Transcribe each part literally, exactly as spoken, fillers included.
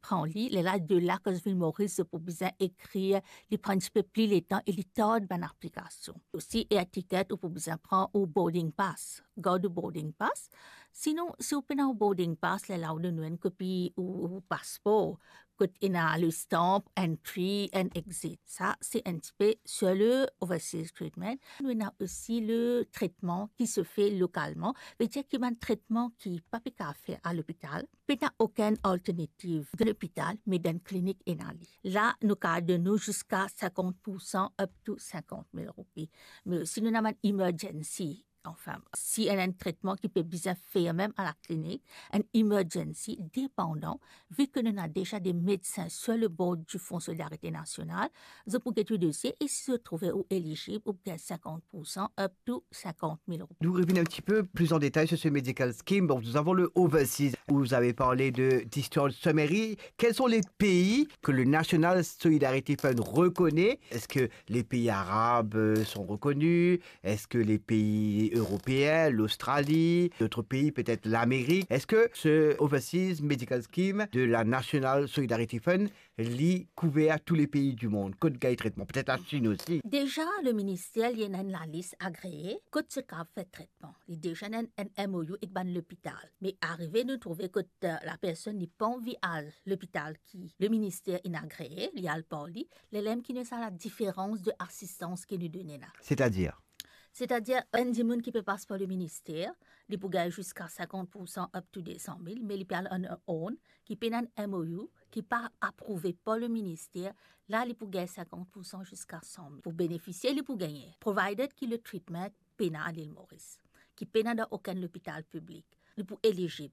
pran li, lerla de la kan zot vinn Moris, zot pou bizin ekrir, li pran enn tipe pli letan e li tard bann aplikasion. Osi, air ticket, ou pou bizin pran ou boarding pass, gard ou boarding pass. Sinon, si ou pena ou boarding pass, lerla ou donn nou enn kopi ou, ou paspor, kot ena le stamp entry and exit. Sa, se enn tipe sur le overseas treatment. Nou ena osi le tretman ki se fer lokalman, vedir ki bann tretman ki pa pe kapav fer a lopital, pena okenn alternativ dan lopital, me dan klinik ena li. La, nou kapav donn ou ziska sinkant pour san up to sinkant mil roupi. Me osi nou ena bann emergency, anfin, si ena enn tretman ki pe bizin fer mem a laklinik, enn emergency, depandan, vi ke nou ena deza de medsin sur le board du Fonds Solidarité Nationale, zot pou get ou dosie e si zot trouve ou elizib, ou pou gagn sinkant pour san up to sinkant mil roupi. Nous revenons un petit peu plus en détail sur ce medical scheme. Donc, nous avons le overseas, où vous avez parlé de discharge summary. Quels sont les pays que le National Solidarity Fund reconnaît? Est-ce que les pays arabes, euh, sont reconnus? Est-ce que les pays européens, l'Australie, d'autres pays, peut-être l'Amérique? Est-ce que ce Overseas Medical Scheme de la National Solidarity Fund li kouver tou le pei dimonn kot gagn tretman, petet Lasinn osi. Deza, le minister li ena enn lalis agree kot zot kapav fer tretman. Li deza ena enn, enn M O U ek bann lopital. Me arive nou trouve kot, eh, lapersonn li pa anvi al lopital ki le minister inn agree, li al par li, lerla mem ki ena sa ladiferans de asistans ki nou done la. Setadir? Setadir, enn dimoun ki pe pas par le minister, li pou gagn ziska sinkant pour san up to de san mil, me li pe al on her own, ki pena enn M O U, ki pa aprouve par le minister, la li pou gagn sinkant pour san ziska san mil. Pou benefisie, li pou gagne, provided ki le treatment pena a Lil Moris, ki pena dan okenn lopital piblik, li pou elizib.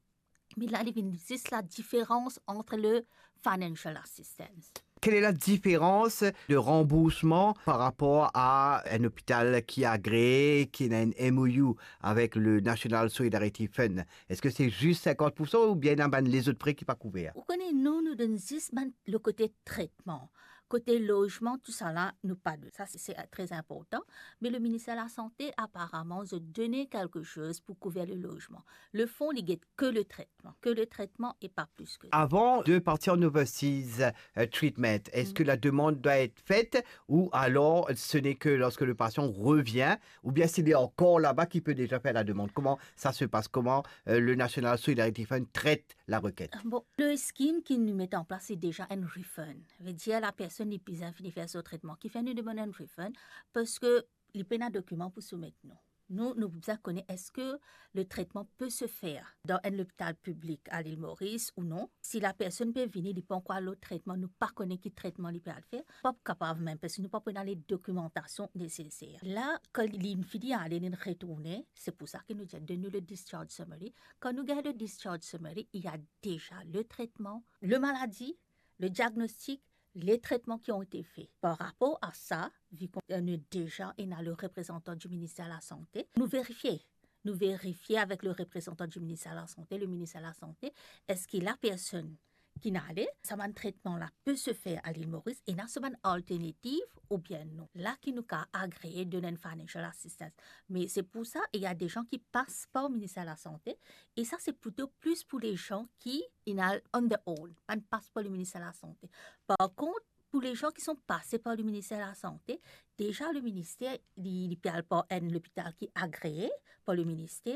Me la, li vinn zis ladiferans ant le financial assistance. Quelle est la différence de remboursement par rapport à un hôpital qui est agréé, qui a un M O U avec le National Solidarity Fund? Est-ce que c'est juste cinquante pour cent ou bien ena bann lezot pre ki pa kouver? Ou kone, nou, nou donn zis bann le kote tretman. Kote lozman, tousala, nou pa donn. Sa, se, se tre inportan. Me le minister lasante, aparaman, zot done kelke soz pou kouver le lozman. Le fon, li get ke le tretman. Que le traitement et pas plus que ça. Avant de partir en overseas, euh, treatment, est-ce que la demande doit être faite ou alors ce n'est que lorsque le patient revient ou bien s'il est encore là-bas qu'il peut déjà faire la demande? Comment ça se passe? Comment, euh, le National Solidarity Fund traite la requête? Bon, le scheme ki nou met an plas, se deza enn refund. Vedir, lapersonn li bizin fini fer so tretman, ki fer nou demann enn refund, parski li pena dokiman pou soumet nou. Nou, nou bizin kone eski le traitement peut se faire dans un hôpital public à l'île Maurice ou non. Si lapersonn pe vini, li pankor al lot tretman, nou pa kone ki tretman li pe al fer, pa kapav mem, parski nou pa pou ena le dokimantasion neseser. La, kan li fini ale, li retourne, se pou sa ki nou dir, donn nou le discharge summary. Kan nou gagn le discharge summary, il y a déjà le traitement, le maladie, le diagnostic, les traitements qui ont été faits. Par rapor a sa, vi ki nou deza ena le reprezantan di minister lasante, nou verifie. Nou verifie avek le reprezantan di minister lasante, le minister lasante, eski lapersonn ki inn ale, sa bann tretman la pe se fer a l'île Maurice, ena sa bann alternativ oubien non. La ki nou kapav agree donn enn financial assistance. Me se pou sa, il y a des gens qui passent par minister lasante, e sa se plito plis pou le zan ki inn al on their own, pa'nn pas par le minister lasante. Par kont, pou le zan ki inn pase par le minister lasante, deza le minister, li, li pe al par enn lopital ki agree par le minister,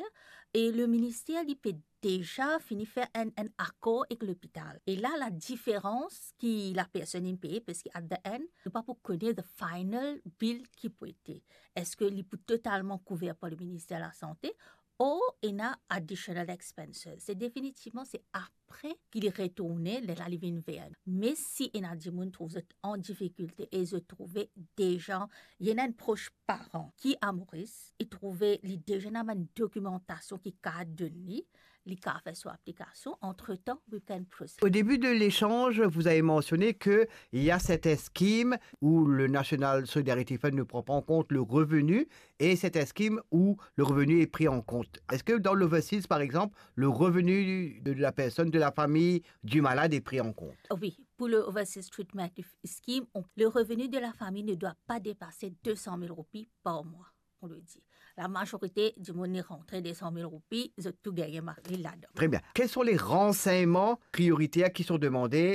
e le minister, li pe deza fini fer enn, enn akor ek lopital. E la, ladiferans ki lapersonn inn peye, parski at the end, nou pa pou kone the final bill ki pou ete. Eski li pou totalman kouver par le minister lasante, or ena additional expenses. Se definitivman, se apre ki li retourne, lerla li vinn ver nou. Me si ena dimoun trouv zot an difikilte e zot trouve deza, ena enn pros paran ki a Moris, li trouve li deza ena bann dokimantasion ki kapav donn li, li kapav fer so aplikasion, entre-temps, we can proceed. Au début de l'échange, vous avez mentionné que il y a certains schemes où le National Solidarity Fund ne prend pas en compte le revenu et certains schemes où le revenu est pris en compte. Est-ce que dans l'overseas, par exemple, le revenu de la personne, de la famille du malade est pris en compte? Oui, pour le overseas treatment scheme, on, le revenu de la famille ne doit pas dépasser deux cent mille roupies par mois, on le dit. La majorite dimoun ki rantre de san mil roupi, zot tou gagne mari ladan. Très bien. Quels sont les renseignements prioritaires qui sont demandés